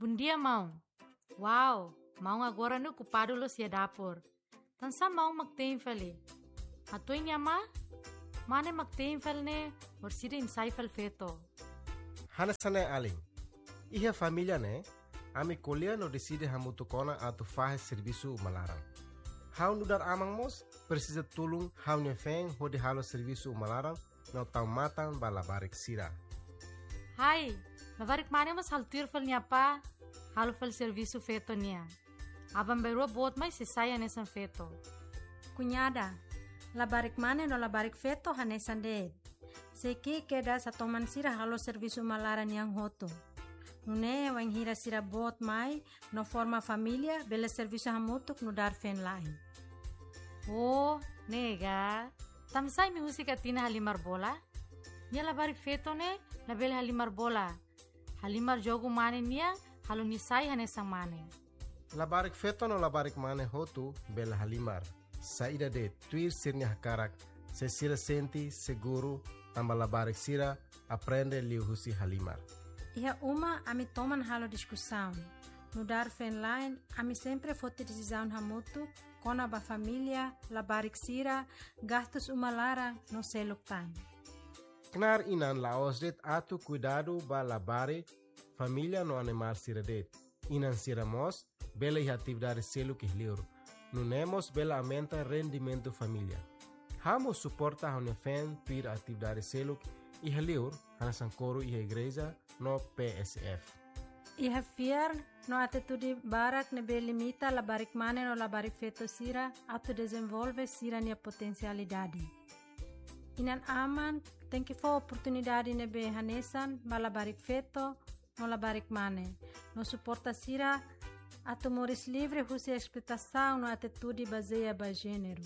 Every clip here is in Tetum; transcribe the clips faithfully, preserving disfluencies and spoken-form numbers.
Bondia, maun. Wow, maun agora ne'e okupadu loos iha dapur. Tansá maun mak tein fali? Hato'o nia ma? Mane mak tein fali ne'e, orsida imi sai fali feto. Hanesan ne'e alin. Iha família ne'e, ami ko'alia no deside hamutuk ona atu fahe servisu uma laran. Ha'u nu'udar aman mós presiza tulun ha'u-nia feen hodi halo servisu uma laran no tau matan ba labarik sira. Hai, labarik mane mós halo tuir fali nia apá, halo fali servisu feto nian. Aban-bainrua boot mai sei sai hanesan feto. Kuñada, labarik mane no labarik feto hanesan de'it. Sei ki'ik kedas hatoman sira halo servisu uma laran nian hotu. Nune'e wainhira sira boot mai no forma família, bele servisu hamutuk nu'udar feen-la'en. Oh, ne'e ka. Tansá imi husik Atina halimar bola? Nia labarik feto ne'e labele halimar bola. Halimar jogu mane nian, halo nia sai hanesan mane. Labarik feto no labarik mane hotu bele halimar. Saida de'it, tuir sira-nia hakarak, se sira sente seguru, tanba labarik sira aprende liuhusi halimar. Iha uma ami toman halo diskusaun. Nu'udar feen-la'en, ami sempre foti desizaun hamutuk kona-ba família, labarik sira, gastus uma laran no seluk tan. Knaar inan la'ós de'it atu kuidadu ba labarik, família no animál sira de'it. Inan sira mós bele iha atividade seluk iha liur. Nune'e mós bele aumenta rendimentu família. Ha'u mós suporta ha'u-nia feen tuir atividade seluk iha liur, hanesan koru iha igreja no P S F. Iha fiar no atitude barak ne'ebé limita labarik mane no labarik feto sira atu dezenvolve sira-nia potensialidade. Inan-aman tenke fó oportunidade ne'ebé hanesan ba labarik feto no labarik mane, no suporta sira atu moris livre husi esploitasaun no atitude bazeia ba jéneru.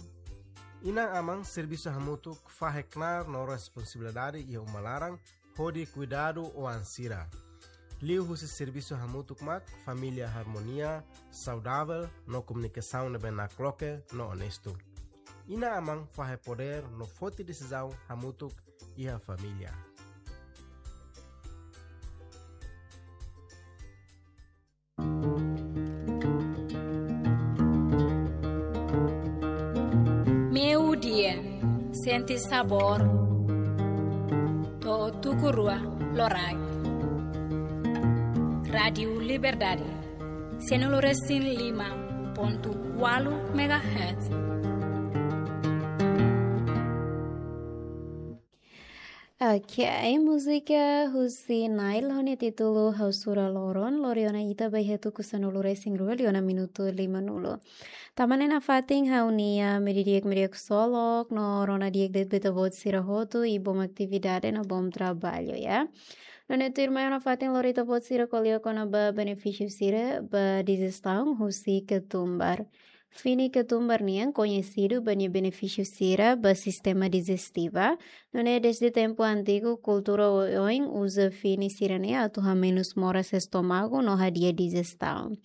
Inan-aman servisu hamutuk fahe knaar no responsabilidade iha uma laran hodi kuidadu oan sira. Liuhusi servisu hamutuk mak família harmonia, saudavel no komunikasaun ne'ebé nakloke no onestu. Inan-aman fahe podér no foti desizaun hamutuk iha família. Meio-dia, sente sabor, to'o tuku rua loraik. Rádiu Liberdade, sanulu-resin-lima pontu ualu megahertz. Ok, múzika husi Nail ho nia títulu Ha'u Sura Loron, lori ona ita ba iha tuku sanulu-resin-rua, liu ona minutu limanulu. Tanba ne'e nafatin ha'u-nia meiudia di'ak, meiudia ksolok, no rona di'ak de'it ba ita-boot sira hotu, i bom atividade no bom trabalho, ya. Nune'e tuirmai ha'u nafatin lori ita-boot sira ko'alia kona-ba benefísiu sira ba dijestaun husi ketumbar. Fini ketumbar nian koñesidu ba nia benefísiu sira ba sistema dijestiva, nune'e dezde tempu antigu kultura oioin uza fini sira-ne'e atu hamenus moras estómagu no hadi'a dijestaun.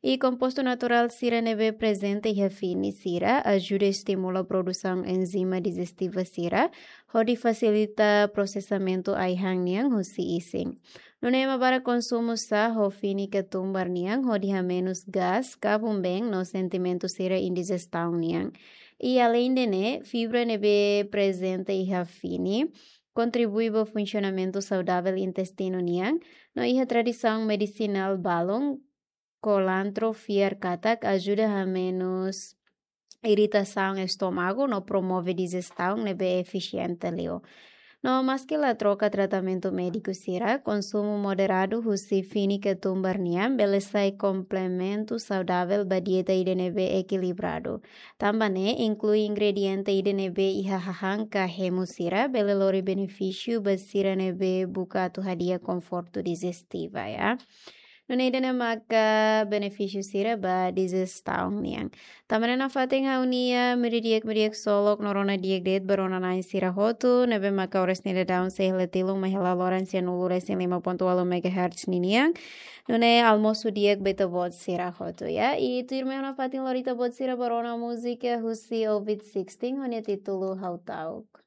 I kompostu naturál sira ne'ebé prezente iha fini sira ajuda estimula produsaun enzima dijestiva sira, hodi fasilita prosesamentu ai-han nian husi isin. Nune'e ema barak konsumu sá ho fini ketumbar nian hodi hamenus gás, kabun-been no sentimentu sira indijestaun nian. I aleinde ne'e, fibra ne'ebé prezente iha fini kontribui ba funsionamentu saudavel intestinu nian, no iha tradisaun medisinál balun, kolantru fiar katak ajuda hamenus iritasaun estómagu no promove dijestaun ne'ebé efisiente liu. No maski la troka tratamentu médiku sira, konsumu moderadu husi fini ketumbar nian bele sai komplementu saudavel ba dieta ida ne'ebé ekilibradu. Tanba ne'e inklui ingrediente ida ne'ebé iha hahán ka hemu sira bele lori benefísiu ba sira ne'ebé buka atu hadi'a konfortu dijestiva, ya. Nune'e ida-ne'e maka benefísiu sira ba dijestaun nian. Tanba ne'e nafatin ha'u-nia meiudia di'ak, meiudia ksolok no rona di'ak de'it ba rona-na'in sira hotu, ne'ebé maka oras ne'e daudaun seis hela tilun mai hela loran sanulu-resin-lima pontu ualu megahertz ninian. Nune'e almosu di'ak ba ita-boot sira hotu, ya. I tuirmai ha'u nafatin lori ita-boot sira ba rona múzika husi Ovid Sixteen, ho nia títulu Ha'u Ta'uk.